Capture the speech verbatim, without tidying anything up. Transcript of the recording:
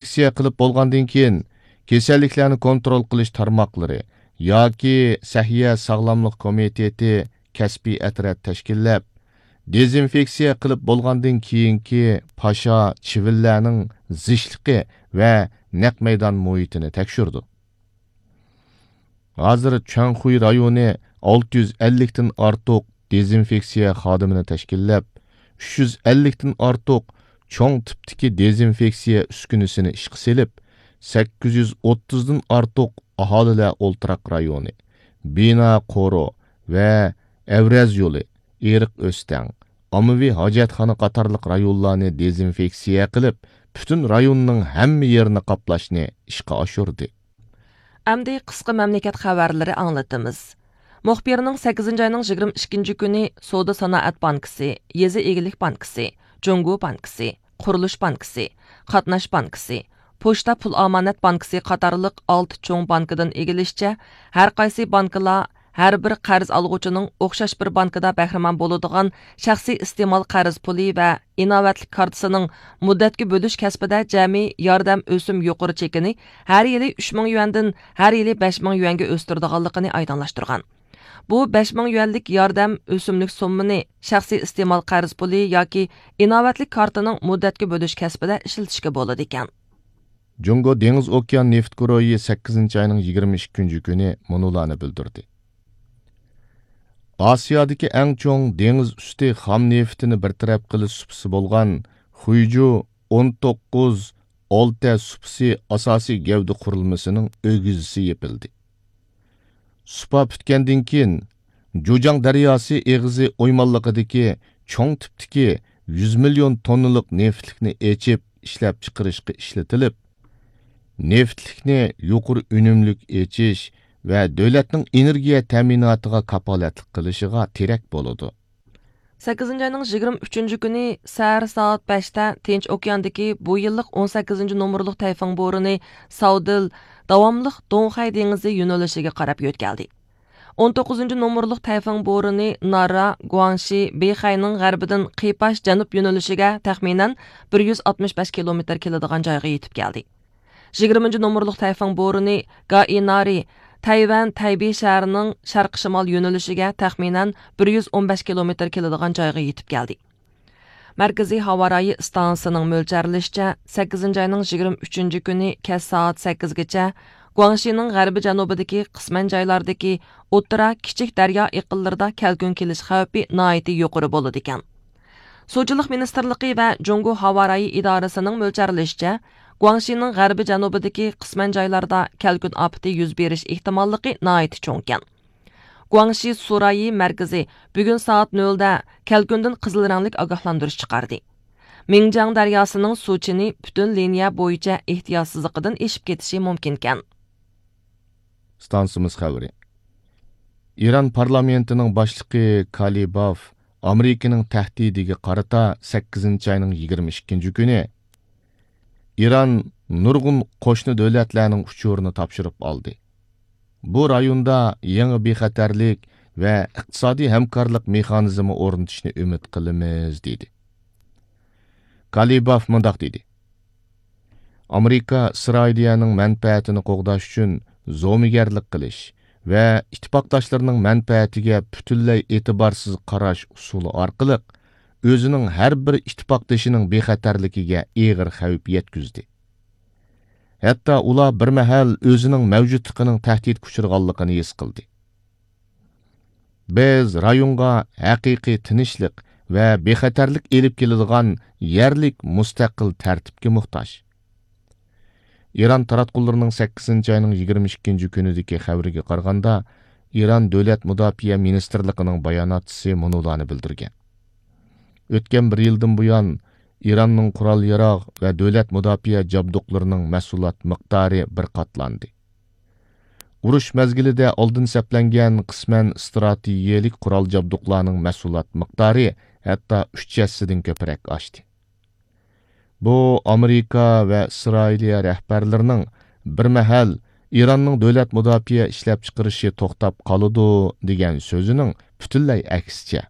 دېزىنفېكسىيە قىلىپ بولغاندىن كېيىن، كېسەللىكلەرنى كونترول قىلىش تارماقلىرى ياكى سەھىيە ساغلاملىق كومىتېتى كەسپىي ئەترەت تەشكىللەپ، دېزىنفېكسىيە قىلىپ بولغاندىن كېيىنكى پاشا، چىۋىنلەرنىڭ زىچلىقى ۋە نەق مەيدان مۇھىتىنى تەكشۈرىدۇ. ھازىر چۈەنخۇي رايونى ئالتە يۈز ئەللىكتىن ئارتۇق دېزىنفېكسىيە خادىمىنى تەشكىللەپ، ئۈچ يۈز ئەللىكتىن ئارتۇق چوڭ تىپتىكى دېزىنفېكسىيە ئۈسكۈنىسىنى ئىشقا سېلىپ، سەككىز يۈز ئوتتۇزدىن ئارتۇق ئاھالىلەر ئولتۇراق رايونى، بىنا قورۇ ۋە ئەۋرەز يولى، ئېرىق ئۆستەڭ، ئاممىۋى ھاجەتخانا قاتارلىق رايونلارنى دېزىنفېكسىيە قىلىپ، پۈتۈن رايوننىڭ ھەممە يېرىنى قاپلاشنى ئىشقا ئاشۇردى. ئەمدى قىسقا مەملىكەت خەۋەرلىرى ئاڭلىتىمىز. مۇخبىرنىڭ سەككىزىنچى ئاينىڭ يىگىرمە ئىككىنچى كۈنى سودا سانائەت بانكىسى، يېزا ئىگىلىك بانكىسى، جۇڭگو بانكىسى، قۇرۇلۇش بانكىسى، قاتناش بانكىسى، پوچتا پۇل ئامانەت بانكىسى قاتارلىق ئالتە چوڭ بانكىدىن ئىگىلىشىچە، ھەر قايسى بانكىلار ھەر بىر قەرز ئالغۇچىنىڭ ئوخشاش بىر بانكىدا بەھرىمەن بولىدىغان شەخسىي ئىستېمال قەرز پۇلى ۋە ئىناۋەتلىك كارتىسىنىڭ مۇددەتكە بۆلۈش كەسپىدە جەمئىي ياردەم ئۆسۈم يۇقىرى چېكىنى ھەر يىلى ئۈچ مىڭ يۈەندىن ھەر يىلى بەش مىڭ يۈەنگە ئۆستۈرىدىغانلىقىنى ئايدىڭلاشتۇرغان. بۇ بەش مىڭ يۈەنلىك ياردەم ئۆسۈملۈك سوممىنى شەخسىي ئىستېمال قەرز پۇلى ياكى ئىناۋەتلىك كارتىنىڭ مۇددەتكە بۆلۈش كەسپىدە ئىشلىتىشكە بولىدىكەن. جۇڭگو دېڭىز ئوكيان نېفىت گۇرۇھى سەككىزىنچى ئاينىڭ يىگىرمە ئىككىنچى كۈنى مۇنۇلارنى بىلدۈردى. ئاسىيادىكى ئەڭ چوڭ دېڭىز ئۈستى خام نېفىتىنى بىر تەرەپ قىلىش سۇپىسى بولغان خۇيجۇ ئون توققۇز ئولتە سۇپىسى ئاساسىي گەۋدە قۇرۇلمىسىنىڭ ئۆگزىسى يېپىلدى. سۇپا پۈتكەندىن كېيىن، جۇجاڭ دەرياسى ئېغىزى ئويمانلىقىدىكى چوڭ تىپتىكى يۈز مىليون توننىلىق نېفىتلىكنى ئېچىپ ئىشلەپچىقىرىشقا ئىشلىتىلىپ، نېفىتلىكنى يۇقىرى ئۈنۈملۈك ئېچىش ۋە دۆلەتنىڭ ئېنېرگىيە تەمىناتىغا كاپالەتلىك قىلىشىغا تىرەك بولىدۇ. سەككىزىنچى ئاينىڭ يىگىرمە ئۈچىنچى كۈنى سەھەر سائەت بەشتە تىنچ ئوكياندىكى بۇ يىللىق ئون سەككىزىنچى نومۇرلۇق تەيفۇڭ بورىنى ساۋدىل داۋاملىق دۇڭخەي دېڭىزى يۆنىلىشىگە قاراپ يۆتكەلدى. ئون توققۇزىنچى نومۇرلۇق تەيفۇڭ بورىنى نارا، گۇاڭشى، بېيخەينىڭ غەربىدىن قىيپاش جەنۇب يۆنىلىشىگە تەخمىنەن بىر يۈز ئاتمىش بەش كىلومېتىر كېلىدىغان جايغا يېتىپ كەلدى. يىگىرمىنچى نومۇرلۇق تەيفۇڭ بورىنى گائىنارى، تەيۋەن تەيبېي شەھىرىنىڭ شەرقىي شىمال يۆنىلىشىگە تەخمىنەن بىر يۈز ئون بەش كىلومېتىر كېلىدىغان جايغا يېتىپ كەلدى. مەركىزىي ھاۋا رايى ئىستانسىسىنىڭ مۆلچەرلىشىچە، سەككىزىنچى ئاينىڭ يىگىرمە ئۈچىنچى كۈنى كەچ سائەت سەككىزگىچە گۇاڭشىنىڭ غەربىي جەنۇبىدىكى قىسمەن جايلاردىكى ئوتتۇرا، كىچىك دەريا ئېقىنلىرىدا كەلكۈن كېلىش خەۋپى ناھايىتى يۇقىرى بولىدىكەن. سۇچىلىق مىنىستىرلىقى ۋە جۇڭگو ھاۋا رايى ئىدارىسىنىڭ مۆلچەرلىشىچە، گۇاڭشىنىڭ غەربىي جەنۇبىدىكى قىسمەن جايلاردا كەلكۈن ئاپىتى يۈز بېرىش ئېھتىماللىقى ناھايىتى چوڭكەن. گۇاڭشى سۇ رايى مەركىزى بۈگۈن سائەت نۆلدە كەلكۈندىن قىزىل رەڭلىك ئاگاھلاندۇرۇش چىقاردى. مىڭجياڭ دەرياسىنىڭ سۇ چېنى پۈتۈن لىنىيە بويىچە ئېھتىياتسىزلىقىدىن ئېشىپ كېتىشى مۇمكىنكەن. ئىستانسىمىز خەۋىرى. ئىران پارلامېنتىنىڭ باشلىقى كالىباف ئامېرىكىنىڭ تەھدىتىگە قارىتا سەككىزىنچى ئاينىڭ يىگىرمە ئىككىنچى كۈنى ئىران نۇرغۇن قوشنا دۆلەتلەرنىڭ ئۇچۇرىنى تاپشۇرۇپ ئالدى. بۇ رايوندا يېڭى بىخەتەرلىك ۋە ئىقتىسادىي ھەمكارلىق مېخانىزمى ئورنىتىشنى ئۈمىد قىلىمىز، دېدى. كالىباف مۇنداق دېدى: ئامېرىكا ئىسرائىلىيەنىڭ مەنپەئەتىنى قوغداش ئۈچۈن زومىگەرلىك قىلىش ۋە ئىتتىپاقداشلىرىنىڭ مەنپەئەتىگە پۈتۈنلەي ئېتىبارسىز قاراش ئۇسۇلى ئارقىلىق ئۆزىنىڭ ھەر بىر ئىتتىپاقدىشىنىڭ بىخەتەرلىكىگە ئېغىر خەۋپ يەتكۈزدى. ھەتتا ئۇلار بىر مەھەل ئۆزىنىڭ مەۋجۇتلۇقىنىڭ تەھدىتكە ئۇچرىغانلىقىنى ھېس قىلدى. بىز رايونغا ھەقىقىي تىنچلىق ۋە بىخەتەرلىك ئېلىپ كېلىدىغان يەرلىك مۇستەقىل تەرتىپكە موھتاج. ئىران تاراتقۇلىرىنىڭ سەككىزىنچى ئاينىڭ يىگىرمە ئىككىنچى كۈنىدىكى خەۋىرىگە قارىغاندا، ئىران دۆلەت مۇداپىئە مىنىستىرلىقىنىڭ باياناتچىسى مۇنۇلارنى بىلدۈرگەن: ئۆتكەن بىر يىلدىن بۇيان، ئىراننىڭ قورال-ياراغ ۋە دۆلەت مۇداپىئە جابدۇقلىرىنىڭ مەھسۇلات مىقدارى بىر قاتلاندى. ئۇرۇش مەزگىلىدە ئالدىن سەپلەنگەن قىسمەن ئىستراتېگىيەلىك قورال جابدۇقلارنىڭ مەھسۇلات مىقدارى ھەتتا ئۈچ ھەسسىدىن كۆپرەك ئاشتى. بۇ ئامېرىكا ۋە ئىسرائىلىيە رەھبەرلىرىنىڭ بىر مەھەل ئىراننىڭ دۆلەت مۇداپىئە ئىشلەپچىقىرىشى توختاپ قالىدۇ دېگەن سۆزىنىڭ پۈتۈنلەي ئەكسىچە.